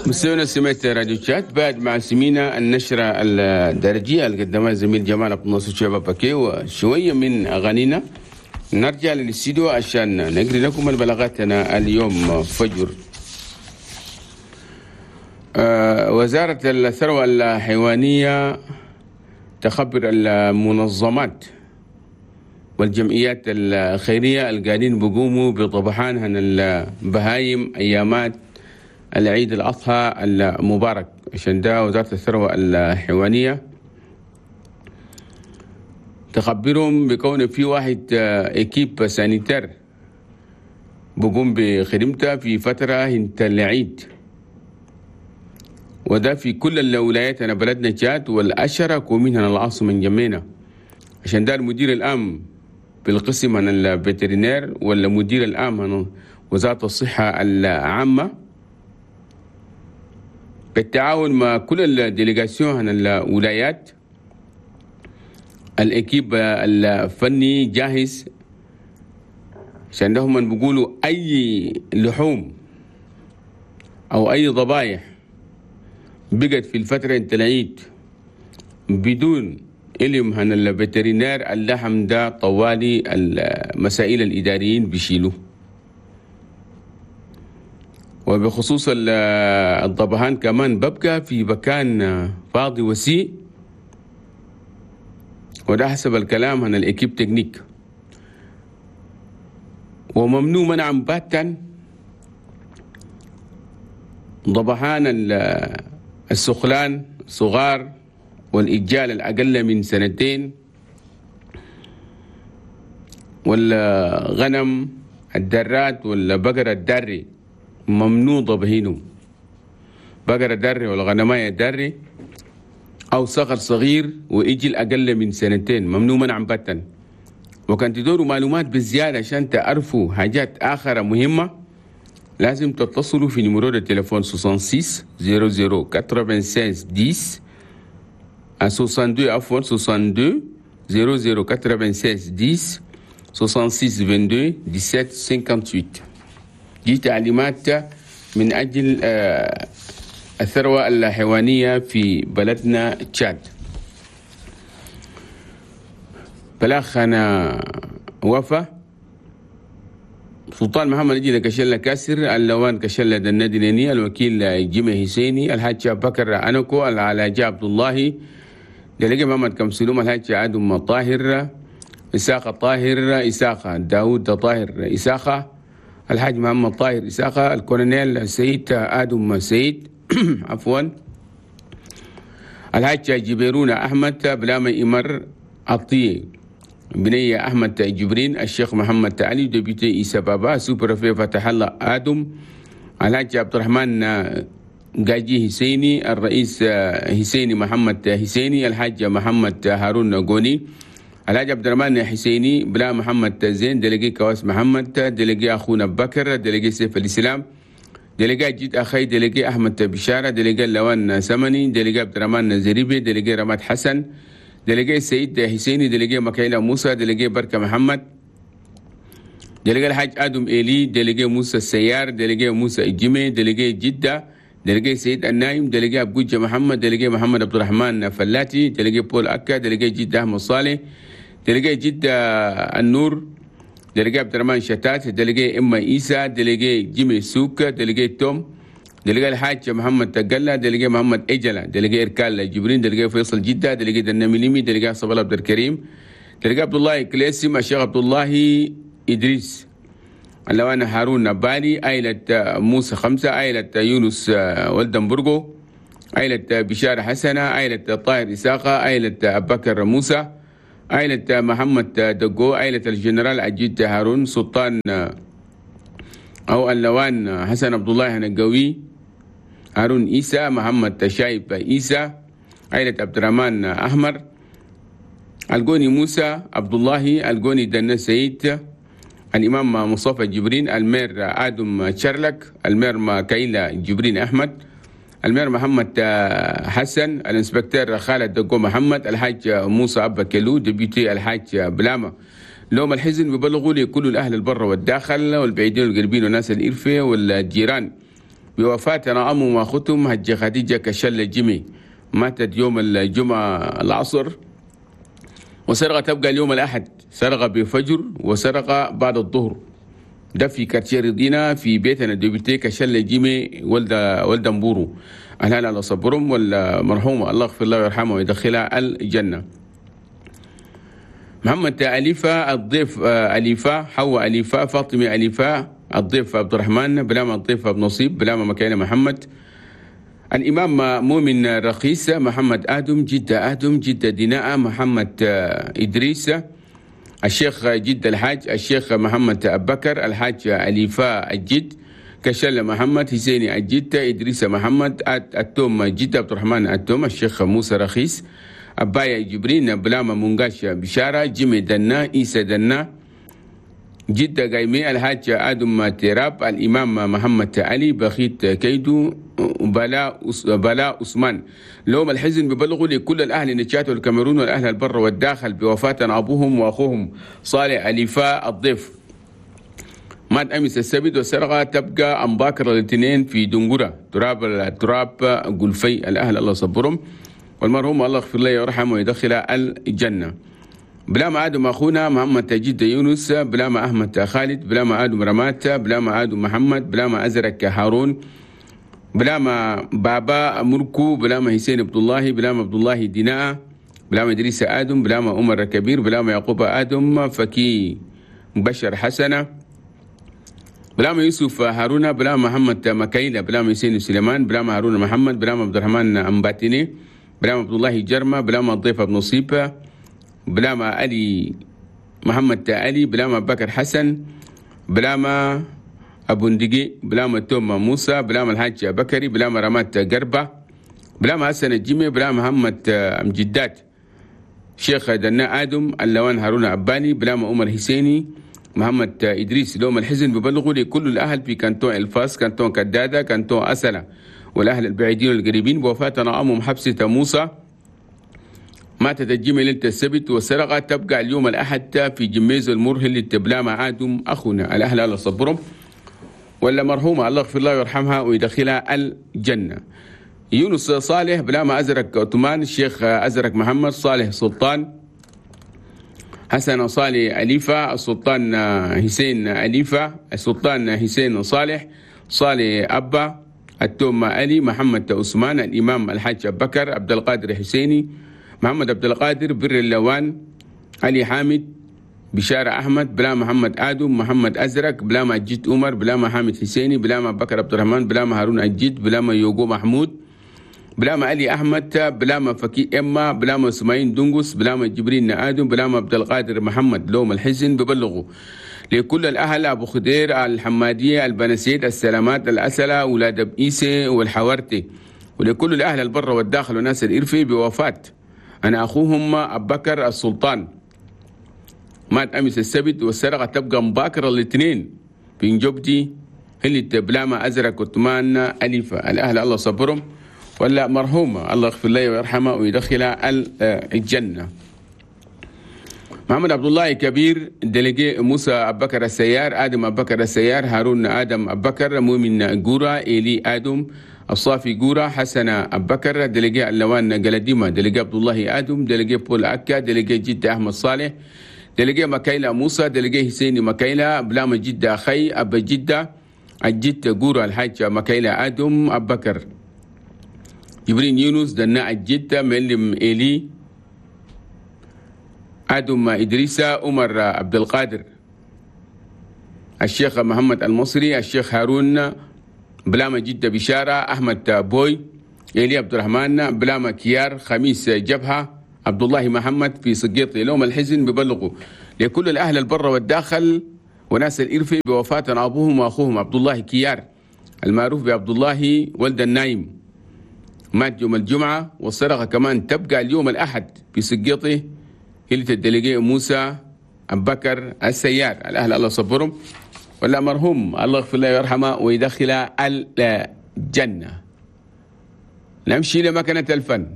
مستمعينا سمعت راديو تشاد بعد مع سمينا النشرة الدرجية اللي قدمها الزميل جمال عبد الناصر شباب باكي وشوية من أغانينا. نرجع للاستديو عشان نقري لكم البلاغاتنا اليوم فجر. وزارة الثروة الحيوانية تخبر المنظمات والجمعيات الخيرية القاعدين بقوموا بطبحان البهايم أيامات العيد الأضحى المبارك. عشان ده وزارة الثروة الحيوانية تخبرهم بكون في واحد équipe sanitaire بقوم بخدمته في فترة انت العيد، وده في كل الولايات أنا بلدنا تشاد والأشرك ومنها العاصمة انجمينا. عشان ده المدير العام بالقسم عن ال vétérinaire ولا مدير العام عن وزارة الصحة العامة بالتعاون مع كل ال délégations عن الولايات، ال équipe الفني جاهز. عشان ده هم بيقولوا أي لحوم أو أي ضبايح بقت في الفترة انت العيد بدون علم عن ال vétérinaire، اللحم ده طوالي المسائل الإداريين بيشيلوه. وبخصوص الضبهان كمان ببقى في مكان فاضي وسيع، وده حسب الكلام عن ال équipe technique، وممنوع منعا باتا ضبحان السخلان صغار والإجال الأقل من سنتين والغنم الدرات والبقرة الدري ممنوع ضبهينهم. بقرة دري والغنماية دري أو صغر صغير وإجل أقل من سنتين ممنوع منعا باتا. وكان تدوروا معلومات بالزيادة عشان تعرفوا حاجات آخرة مهمة لازم تتصلوا في numéro التليفون 66 00 96 10 62 عفوا 62 00 96 10 66 22 17 58. دي تعليمات من أجل الثروة الحيوانية في بلدنا تشاد. بلاخنا وفا سلطان محمد جيدا كشلة كاسر اللوان كشلة النادي الوكيل جيمي حسيني الحاج بكر أنكو العلاج عبد الله دلقي محمد كمسلوم الحاج عدم طاهر إساقة طاهر إساقة داود طاهر إساقة الحاج محمد طاهر إساقة الكولونيل سيد آدم سيد عفوا الحاج جبيرون أحمد بلاما إمر عطية بنية أحمد جبرين الشيخ محمد علي député إيسا بابا sous-préfet فتح الله آدم الحاج عبد الرحمن قاجي حسيني الرئيس حسيني محمد حسيني الحاج محمد هارون غوني الحاج عبد الرحمن حسيني بلا محمد زين délégué كواس محمد délégué أخونا بكر délégué سيف الإسلام délégué جيد أخي délégué أحمد بشارة délégué لوان سمني délégué عبد الرحمن زريبي délégué رماد حسن délégué سيد حسيني délégué مكايلة موسى délégué بركة محمد délégué الحاج آدم إيلي délégué موسى السيار délégué موسى الجمي délégué جدة délégué سيد النايم délégué أبوجة محمد délégué محمد عبد الرحمن فلاتي délégué بول أكا délégué جدة أحمد صالح délégué جدة النور délégué عبد الرحمن شتات délégué إما إيسا délégué جيمي سوك délégué توم délégué الحاج محمد تقلة délégué محمد إجلة délégué إركال جبرين délégué فيصل جدة délégué دنميليمي délégué صبر عبد الكريم délégué عبد الله كليسم الشيخ عبد الله إدريس اللوان هارون نبالي عائلة موسى خمسة عائلة يونس ولدنبرغو عائلة بشارة حسنة عائلة طاهر إساقة عائلة أبكر موسى عائلة محمد دقو عائلة الجنرال عجيد هارون سلطان أو اللوان حسن عبد الله نقوي هارون إيسى محمد شايب إيسى عائلة عبد الرحمن أحمر الجوني موسى عبد الله الجوني دنا سيد الإمام مصطفى جبرين ال maire آدم شرلك ال maire مكايلة جبرين أحمد ال maire محمد حسن ال inspecteur خالد دقو محمد الحاج موسى أبا كيلو député الحاج بلامة. لوم الحزن ببلغوا لكل الأهل البر والداخل والبعيدين والقريبين والناس الإرفة والجيران بوفاة أمهم وأختهم هجة خديجة كشلة جيمي، ماتت يوم الجمعة العصر، وسرقة تبقى اليوم الأحد، سرقة بفجر وسرقة بعد الظهر. ده في quartier رضينا في بيتنا député كشلة جيمي ولد مبورو. أهلا على صبرهم والمرحومة الله يغفر له ويرحمه ويدخلها الجنة. محمد أليفة الضيف أليفة، حواء أليفة، فاطمة أليفة، الضيف عبد الرحمن بلامة، الضيف أبو نصيب بلامة، مكاينة محمد، الإمام مؤمن رخيص، محمد آدم جدة، آدم جدة ديناء، محمد إدريس، الشيخ جد الحاج، الشيخ محمد أبكر، الحاج أليفة الجد، كشل محمد، حسيني الجد، إدريس محمد، التوم جد، عبد الرحمن التوم، الشيخ موسى رخيص، أبايا جبرين بلامة، منقاش بشارة، جيمي دنا، إيسا دنا، جدة قايمي، الحاج آدم تيراب، الإمام محمد علي، بخيت كيدو، بلا عثمان. لهم الحزن ببلغوا لكل الأهل نتشات والكاميرون والأهل البر والداخل بوفاة أبوهم وأخوهم صالح أليفاء الضيف، مات أمس السبت، والسرقة تبقى أمباكر الاثنين في دنقرة تراب قلفي. الأهل الله صبرهم، والمرحوم الله يغفر له ويرحمه ويدخله الجنة. بلا آدم أخونا محمد تجد يونس، بلا أحمد خالد، بلا آدم رمات، بلا آدم محمد، بلا أزرك هارون، بلا بابا مركو، بلا حسين عبد الله، بلا عبد الله ديناء، بلا إدريس آدم، بلا عمر كبير، بلا يعقوب آدم، فكي بشر حسنة، بلا يوسف هارون، بلا محمد مكايلة، بلا حسين سليمان، بلا هارون محمد، بلا عبد الرحمن أمباتيني، بلا عبد الله جرمة، بلا الضيف أبو نصيب، بلا ما علي محمد علي، بلا ما بكر حسن، بلا ما أبو ندقي، بلا ما توما موسى، بلا ما الحاج بكري، بلا ما رمات قربة، بلا ما حسن الجيمي، بلا محمد أمجدات، شيخ دنا آدم، اللوان هارون عباني، بلا ما عمر حسيني، محمد إدريس. لهم الحزن ببلغوا لكل الأهل في كانتون الفاس، كانتون كدادة، كانتون أسلة، والأهل البعيدين والقريبين بوفاة أمهم حبسة موسى، ماتت الجمعة ليلة السبت، والسرقة تبقى اليوم الأحد في جميز المرهل للتبلا مع آدم أخونا. الأهل على صبرهم، ولا مرحومة الله يغفر لها ويرحمها ويدخلها الجنة. يونس صالح، بلا ما أزرق عثمان، الشيخ أزرق محمد، صالح سلطان، حسن صالح أليفة، السلطان حسين أليفة، السلطان حسين صالح، صالح أبا، التوم علي، محمد عثمان، الإمام الحاج أبكر، عبد القادر حسيني، محمد عبد القادر، بر اللوان، علي حامد، بشارة أحمد، بلا محمد آدم، محمد أزرق، بلا ما جيت عمر، بلا ما حامد حسيني، بلا ما بكر عبد الرحمن، بلا ما هارون الجد، بلا ما يوغو محمود، بلا ما علي أحمد، بلا ما فكي إما، بلا ما سماين دنقس، بلا ما جبرين آدم، بلا ما عبد القادر محمد. لوم الحزن ببلغوا لكل الأهل أبو خدير، الحمادية، البنسيد، السلامات، الأسلة، ولاد بإيسي والحوارتي، ولكل الأهل البر والداخل وناس الإرفي بوفاة أنا أخوهم أبو بكر السلطان، مات أمس السبت، والسرقة تبقى مباكرة الاثنين في نجوبتي اللي بلاما أزرق عثمان أليفة. الأهل الله صبرهم، ولا مرحومة الله يغفر له ويرحمه ويدخلها الجنة. محمد عبد الله كبير، délégué موسى أبو بكر السيار، آدم أبو بكر السيار، هارون آدم أبو بكر، مؤمن جورا، إيلي آدم، الصافي جورا، حسن أبو بكر، délégué اللوان قلديمة، délégué عبد الله آدم، délégué بول أكا، délégué جدة أحمد صالح، délégué مكايلة موسى، délégué حسيني مكايلة، بلام جدة أخي أبا جدة، الجدة جورا، الحاج مكايلة آدم أبو بكر، جبرين يونس، دناء الجدة، ملم إيلي آدم إدريسة، عمر عبد القادر، الشيخ محمد المصري، الشيخ هارون، بلامة جدة بشارة، أحمد بوي، إيلي عبد الرحمن، بلامة كيار، خميس جبهة، عبد الله محمد في سقيط. لهم الحزن ببلغوا لكل الأهل البر والداخل وناس الإرفي بوفاة أبوهم وأخوهم عبد الله كيار المعروف بعبد الله ولد النايم، مات يوم الجمعة، والسرقة كمان تبقى اليوم الأحد في سقيطه هلة ال délégué موسى أبو بكر السيار. الأهل الله صبرهم، ولا مرحوم الله يغفر له ويرحمه ويدخله الجنة. نمشي لمكنة الفن.